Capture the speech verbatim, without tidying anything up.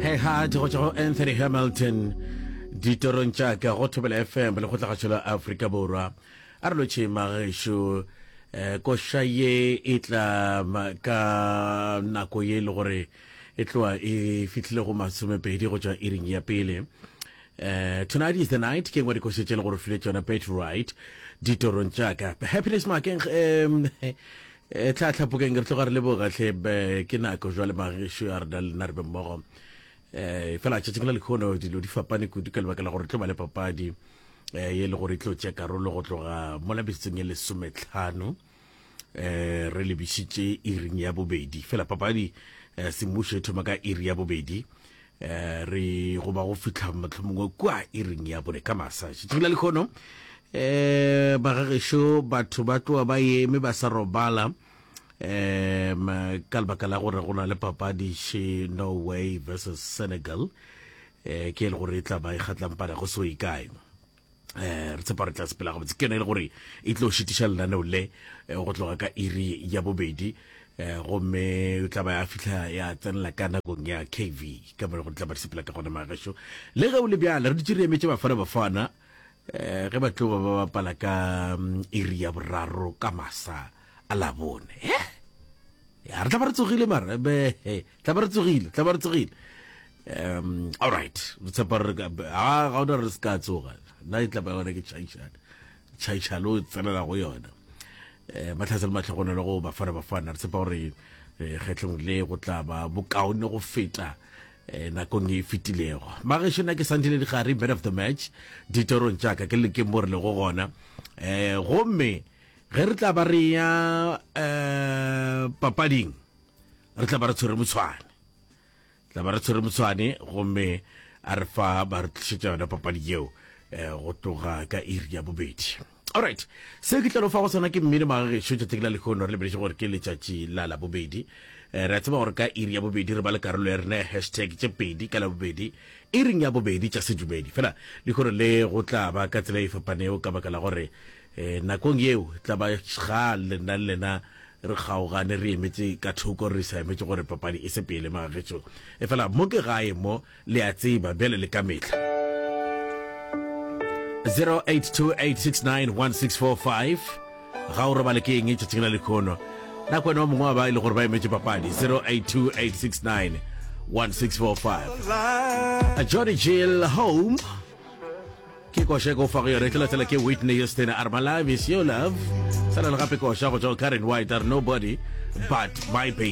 Hey Heart go tšwa go Anthony Hamilton ditorong tša ka go Thobela F M le kgotlagašo la Afrika Borwa. A re lotšhe magešo. um koša ye e tla ka nako ye e le gore e tloa e fihlile go masomepedi go tšwa iring ya pele. Uh, tonight is the night ke ngwe dikoša tše le gore file tšona Betty Wright ditorong tša ka. Happiness Makeng, um tlhatlhapokeng, re tloga re leboga hle. Ke nako jwale magešo ya rena lena re be mmogo. um fela tšatšing la lekgono dilo di fapane kudu ka lebaka la gore tlo ba le papadi um ye le gore e tlo tšea karolo go tloga mola metsotsong e lesometlhano um re lebišitše iring ya bobedi. Fela papadi um semmušo e thoma ka iri ya bobedi, um re go ba go fihla mohlomongwe kua iring ya bone ka masa. Tšatšing la lekgono, um bagagešo, batho ba tloa ba eme ba sa robala um ka lebaka la gore go na le papadi še, Norway versus Senegal, um ke e le gore e tla ba e kgatlampana go se o ikae. um re tshepa re tla sepela gabotse. Ke yone e le gore e tlo šitiša lenaneo le go tloga ka iri ya bobedi, um gomme o tla ba ya fihla ya tsenela ka nakong ya K V ka mo le gore tla ba di sepela ka gona. Magešo, le ge o le bjale re dutse re emetse Bafana Bafana um ge ba tlo ba ba bapala ka iri ya boraro ka masa a Labone. Eh ya re tla ba re tsogile, mara be tla ba re tsogile, tla ba re tsogile. um all right, re tshepa re ga ga ona re se ka tsoga. Nna e tla ba yona ke tšhaišana tšhaišana o tsenela go yona. um matlhatse le matlhogonelo go Bafana Bafana. Re tshepa gore kgetlong le go tla ba bokaone go feta um nakong e fetilego. Magešo, nna ke Santile Digare, man of the match ditorong tšaka. Ke lekeng mo re lego gona, um gomme ge re tla ba re ya um papading, re tla ba re tshwere motshwane, tla ba re tshwere motshwane, gomme a re fa ba re tlišetša yona papadi yeo um go tloga ka iri ya bobedi. Alright, se ke tla fa go sona ke mmino. Magagešo, tšatši la lehono re lebeletše gore ke letšatši la Labobedi. um re a tseba gore ka iri ya bobedi re ba le karolo ya rena ya hashtag tše pedi ka Labobedi iring ya bobedi tša sedumedi. Fela lehono le go tla ba ka tsela e fapanego ka baka la gore um nakong yeo tla ba ga lena le lena re kgaogane, re emetse ka thoko, re sa emetse gore papadi e se pele. Magagešo, e fela mo ke gae mo, le a tseba bjale le ka mehla. zero eight two eight six nine one six four five, ga o robale ke eng tšatšing la lekhono? Nako wena wa mongwe wa ba e le gore ba emetse papadi. zero eight two eight six nine one six four five. Johnny Jill, Home ke koša e ko fa go yona. E tlo latela ke Whitney Houston, a re "My Love Is Your Love". Sala le gape koša go tšwa Karen White, a re "Nobody But My Baby".